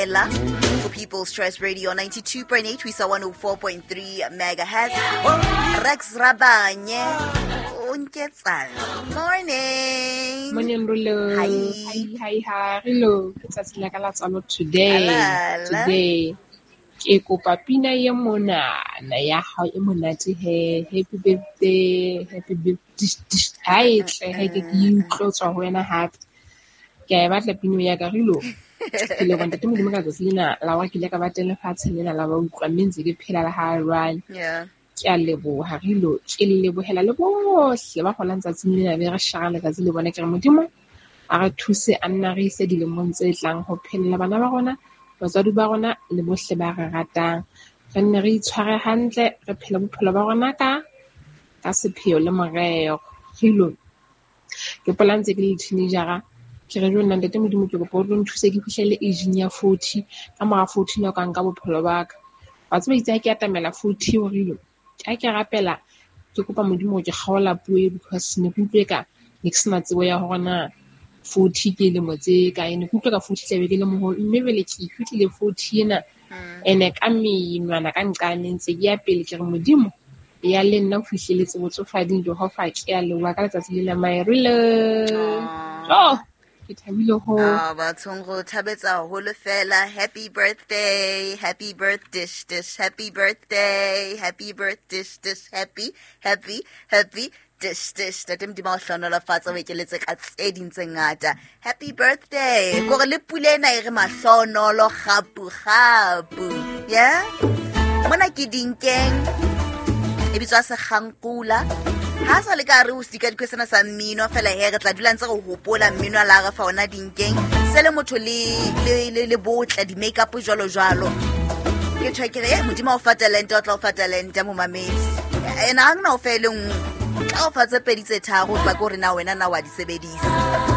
Ella for People's Choice Radio 92.8 ho isa 104.3 megahertz. Rex Rabanye o nketsang. Morning. Morning, Rulo. Hi. Hi, hi, hi. Rulo, ke tsatsi la ka la tswalo today. Alala. Today. Ke kopa pina ye monana ya hao e monate he. Happy birthday, happy birthday. Ha e tle he ke ke utlwe ho tswa ho wena hape. Ke a e batla pina ya ka Rulo. Ke leboha Ntate Modimo ka tsatsi lena la hore ke ile ka ba teng lefatsheng lena la ba utlwa mme ntse ke phela le ha jwale. Yeah. Ke a leboha Rilo, ke lebohela le bohle ba kgolang tsatsing lena be re shara letsatsi le bona. Ke re Modimo a re thuse a nna re ise dilemong tse tlang ho phelela bana ba rona, batswadi ba rona le bohle ba re ratang. Re nne re itshware hantle, re phele bophelo ba rona ka sepheo le morero. Rilo, ke hopola ntse ke le teenager-a, ke re jonna Ntate Modimo ke kopa o tlo nthuse ke fihlelle age-ing ya 40, ka mora 40 na o ka nka bophelo ba ka. Wa tseba itse ha ke atamela 40 ho Rilo, ha ke rapela ke kopa Modimo hore ke kgaola puo e because ne ke utlwe ka ne ke sena tsebo ya hore na 40 ke lemo tse kae, ne ke utlwe ka 40 tlabe ke le moholo, mme jwale ke fihlile 40 ena. Ene ka menwana ka nqane ntse ke ya pele ke re Modimo ya le nna ho fihleletse botsofading Jehova ke a leboha ka letsatsi lena my Rilo. Aw. Oh, ke thabile ho. Ah, bathong go thabetsa haholo fela. Happy birthday, happy birthday, dish, dish, happy birthday, happy birthday, dish, dish, happy, happy, happy, dish, dish. Ntate Modimo a o hlohonolofatse, o ekeletse ka tse ding tse ngata. Happy birthday. Kore le pula ena e re mahlonolo gapu gapu. Yeah? Mona ke Dinkeng. E bitswa Sekgankula. Ha sa le ka re o sika dikwe sena sa mmino fela he re tla dula ntse re hopola mmino a la re fa ona Dinkeng. Se le motho le botle, di-makeup jwalo jwalo. Ke tjho ke re, Modimo o fa talente, o tla o fa talente momamedi. Ena ha ngna o fe le nngwe. Tla o fa tse pedi tse tharo, o tla ke hore na wena na wa di sebedisa.